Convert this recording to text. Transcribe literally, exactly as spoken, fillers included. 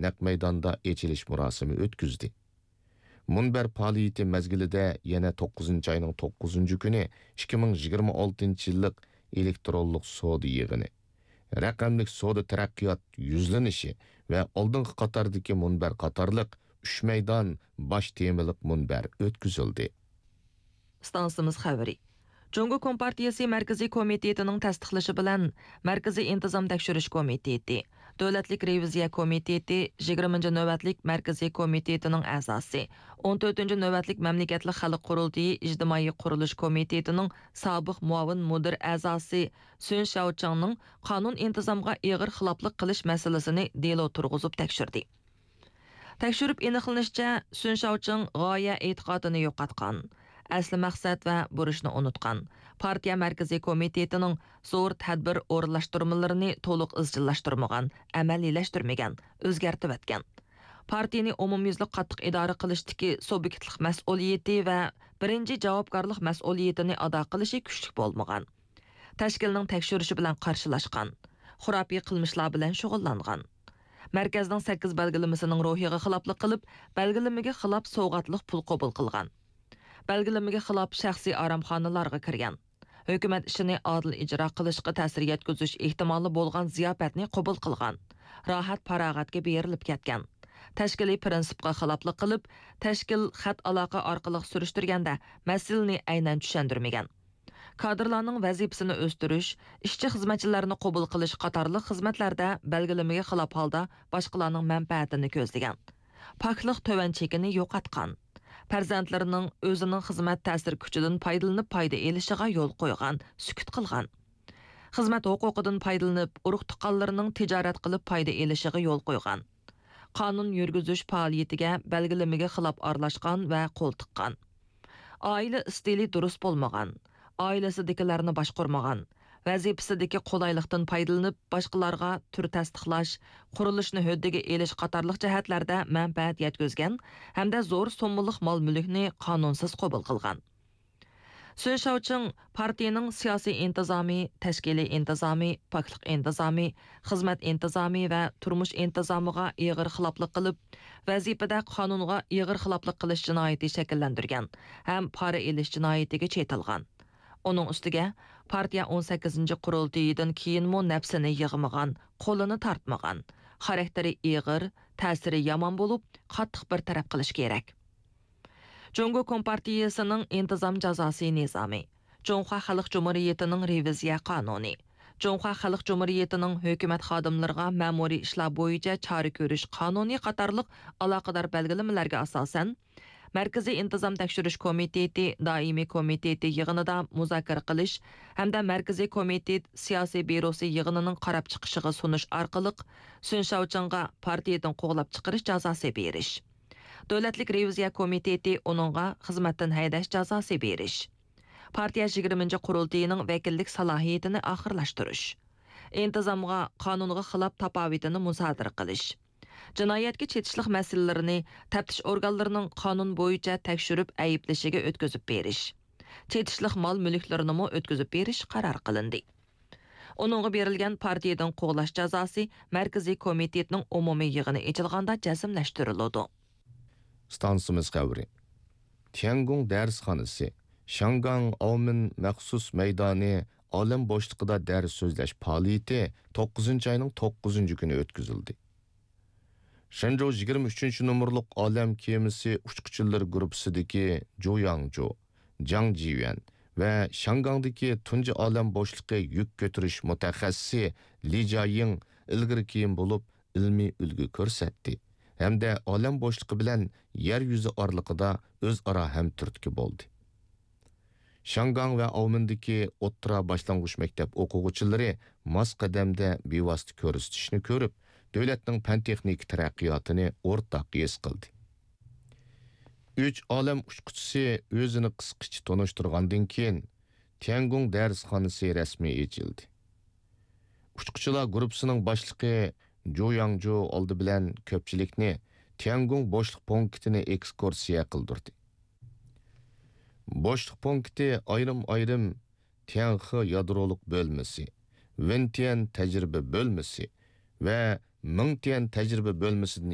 نەق مەيداندا ئېچىلىش مۇراسىمى ئۆتكۈزدى. مۇنبەر پائالىيىتى مەزگىلىدە يەنە توققۇزىنچى ئاينىڭ توققۇزىنچى كۈنى ئىككى مىڭ يىگىرمە ئالتىنچى يىللىق ئېلېكترونلۇق سودا يىغىنى، رەقەملىك سودا تەرەققىيات يۈزلىنىشى ۋە ئالدىنقى قاتاردىكى مۇنبەر قاتارلىق ئۈچ مەيدان باش تېمىلىق مۇنبەر ئۆتكۈزۈلدى. ئىستانسىمىز خەۋىرى. جۇڭگو كومپارتىيىسى مەركىزىي كومىتېتىنىڭ تەستىقلىشى بىلەن، مەركىزىي ئىنتىزام تەكشۈرۈش كومىتېتى، دۆلەتلىك رېۋىزىيە كومىتېتى يىگىرمىنچى نۆۋەتلىك مەركىزىي كومىتېتىنىڭ ئەزاسى، ئون تۆتىنچى نۆۋەتلىك مەملىكەتلىك خەلق قۇرۇلتىيى ئىجتىمائىي قۇرۇلۇش كومىتېتىنىڭ سابىق مۇئاۋىن مۇدىر ئەزاسى سۈن شياۋچىڭنىڭ قانۇن ئىنتىزامغا ئېغىر خىلاپلىق قىلىش مەسىلىسىنى دېلو تۇرغۇزۇپ تەكشۈردى. تەكشۈرۈپ ئېنىقلىنىشىچە، سۈن شياۋچىڭ غايە ئېتىقادىنى يوقاتقان، ئەسلى مەقسەت ۋە بۇرچنى ئۇنتۇغان، پارتىيە مەركىزىي كومىتېتىنىڭ زور تەدبىر ئورۇنلاشتۇرمىلىرىنى تولۇق ئىزچىللاشتۇرمىغان، ئەمەلىيلەشتۈرمىگەن، ئۆزگەرتىۋەتكەن. پارتىيىنى ئومۇميۈزلۈك قاتتىق ئىدارە قىلىشتىكى سۇبيېكتلىق مەسئۇلىيىتى ۋە بىرىنچى جاۋابكارلىق مەسئۇلىيىتىنى ئادا قىلىشى كۈچلۈك بولمىغان. تەشكىلنىڭ تەكشۈرۈشى بىلەن قارشىلاشقان، خۇراپىي قىلمىشلار بىلەن شۇغۇللانغان. مەركەزنىڭ سەككىز بەلگىلىمىسىنىڭ روھىغا خىلاپلىق قىلىپ، بەلگىلىمىگە خىلاپ سوۋغاتلىق پۇل قوبۇل قىلغان. بەلگىلىمىگە خىلاپ شەخسىي ئارامخانىلارغا كىرگەن. ھۆكۈمەت ئىشىنى ئادىل ئىجرا قىلىشقا تەسىر يەتكۈزۈش ئېھتىمالى بولغان زىياپەتنى قوبۇل قىلغان. راھەت پاراغەتكە بېرىلىپ كەتكەن. تەشكىلىي پىرىنسىپقا خىلاپلىق قىلىپ، تەشكىل خەت ئالاقە ئارقىلىق سۈرۈشتۈرگەندە مەسىلىنى ئەينەن چۈشەندۈرمىگەن. كادىرلارنىڭ ۋەزىپىسىنى ئۆستۈرۈش، ئىشچى-خىزمەتچىلەرنى قوبۇل قىلىش قاتارلىق خىزمەتلەردە بەلگىلىمىگە خىلاپ ھالدا باشقىلارنىڭ مەنپەئەتىنى كۆزلىگەن. پاكلىق تۆۋەن چېكىنى يوقاتقان. پەرزەنتلىرىنىڭ ئۆزىنىڭ خىزمەت تەسىر كۈچىدىن پايدىلىنىپ پايدا ئېلىشىغا يول قويغان، سۈكۈت قىلغان. خىزمەت ھوقۇقىدىن پايدىلىنىپ ئۇرۇق-تۇغقانلىرىنىڭ تىجارەت قىلىپ پايدا ئېلىشىغا يول قويغان. قانۇن يۈرگۈزۈش پائالىيىتىگە بەلگىلىمىگە خىلاپ ئارىلاشقان ۋە قول تىققان. ئائىلە ئىستىلى دۇرۇس بولمىغان، ئائىلىسىدىكىلەرنى باشقۇرمىغان، ۋەزىپىسىدىكى قولايلىقتىن پايدىلىنىپ، باشقىلارغا تۈر تەستىقلاش، قۇرۇلۇشنى ھۆددىگە ئېلىش قاتارلىق جەھەتلەردە مەنپەئەت يەتكۈزگەن ھەمدە زور سوممىلىق مال-مۈلۈكنى قانۇنسىز قوبۇل قىلغان. سۈن شياۋچىڭ پارتىيىنىڭ سىياسىي ئىنتىزامى، تەشكىلىي ئىنتىزامى، پاكلىق ئىنتىزامى، خىزمەت ئىنتىزامى ۋە تۇرمۇش ئىنتىزامىغا ئېغىر خىلاپلىق قىلىپ، ۋەزىپىدە قانۇنغا ئېغىر خىلاپلىق قىلىش جىنايىتى شەكىللەندۈرگەن ھەم پارا ئېلىش جىنايىتىگە چېتىلغان. ئۇنىڭ ئۈستىگە، پارتىيە ئون سەككىزىنچى قۇرۇلتىيىدىن كېيىنمۇ نەپسىنى يىغمىغان، قولىنى تارتمىغان، خاراكتېرى ئېغىر، تەسىرى يامان بولۇپ، قاتتىق بىر تەرەپ قىلىش كېرەك. جۇڭگو كومپارتىيىسىنىڭ ئىنتىزام جازاسى نىزامى، جۇڭخۇا خەلق جۇمھۇرىيىتىنىڭ رېۋىزىيە قانۇنى، جۇڭخۇا خەلق جۇمھۇرىيىتىنىڭ ھۆكۈمەت خادىملىرىغا مەمۇرىي ئىشلار بويىچە چارە كۆرۈش قانۇنى قاتارلىق ئالاقىدار بەلگىلىمىلەرگە ئاساسەن، مەركىزىي ئىنتىزام تەكشۈرۈش كومىتېتى دائىمىي كومىتېتى يىغىنىدا مۇزاكىرە قىلىش ھەمدە مەركىزىي كومىتېت سىياسىي بيۇروسى يىغىنىنىڭ قاراپ چىقىشىغا سۇنۇش ئارقىلىق سۈن شياۋچىڭغا پارتىيىدىن قوغلاپ چىقىرىش جازاسى بېرىش. دۆلەتلىك رېۋىزىيە كومىتېتى ئۇنىڭغا خىزمەتتىن ھەيدەش جازاسى بېرىش. پارتىيە يىگىرمىنچى قۇرۇلتىيىنىڭ ۋەكىللىك سالاھىيىتىنى ئاخىرلاشتۇرۇش. ئىنتىزامغا، قانۇنغا خىلاپ تاپاۋىتىنى مۇسادىرە قىلىش. جىنايەتكە چېتىشلىق مەسىلىلىرىنى تەپتىش ئورگانلىرىنىڭ قانۇن بويىچە تەكشۈرۈپ ئەيىبلىشىگە ئۆتكۈزۈپ بېرىش. چېتىشلىق مال-مۈلۈكلىرىنىمۇ ئۆتكۈزۈپ بېرىش قارار قىلىندى. ئۇنىڭغا بېرىلگەن پارتىيىدىن قوغلاش جازاسى مەركىزىي كومىتېتنىڭ ئومۇمىي يىغىنى ئېچىلغاندا جەزملەشتۈرۈلىدۇ. ئىستانسىمىز خەۋىرى. تيەنگۇڭ دەرسخانىسى، شياڭگاڭ ئاۋمېن مەخسۇس مەيدانى ئالەم بوشلۇقىدا دەرس سۆزلەش پائالىيىتى توققۇزىنچى ئاينىڭ توققۇزىنچى كۈنى ئۆتكۈزۈلدى. شېنجۇ يىگىرمە ئۈچىنچى نومۇرلۇق ئالەم كېمىسى ئۇچقۇچىلىرى گۇرۇپپىسىدىكى جۇ ياڭجۇ، جاڭ جىيۈەن ۋە شياڭگاڭدىكى تۇنجى ئالەم بوشلۇقى يۈك كۆتۈرۈش مۇتەخەسسىسى لى جيايىڭ ئىلگىرى كېيىن بولۇپ ئىلمىي ئۈلگە كۆرسەتتى ھەمدە ئالەم بوشلۇقى بىلەن يەر يۈزى ئارىلىقىدا ئۆزئارا ھەمتۈرتكە بولدى. شياڭگاڭ ۋە ئاۋمېندىكى ئوتتۇرا باشلانغۇچ مەكتەپ ئوقۇغۇچىلىرى ماس قەدەمدە بىۋاسىتە كۆرسىتىشنى كۆرۈپ، دۆلەتنىڭ پەن-تېخنىكا تەرەققىياتىنى ئورتاق ھېس قىلدى. ئۈچ ئالەم ئۇچقۇچىسى ئۆزىنى قىسقىچە تونۇشتۇرغاندىن كېيىن، تيەنگۇڭ دەرسخانىسى رەسمىي ئېچىلدى. ئۇچقۇچىلار گۇرۇپپىسىنىڭ باشلىقى جۇ ياڭجۇ ئالدى بىلەن كۆپچىلىكنى تيەنگۇڭ بوشلۇق پونكىتىنى ئېكسكۇرسىيە قىلدۇردى. بوشلۇق پونكىتى ئايرىم-ئايرىم تيەنخې يادرولۇق بۆلمىسى، ۋېنتيەن تەجرىبە بۆلمىسى ۋە مىڭ تيەن تەجرىبە بۆلمىسىدىن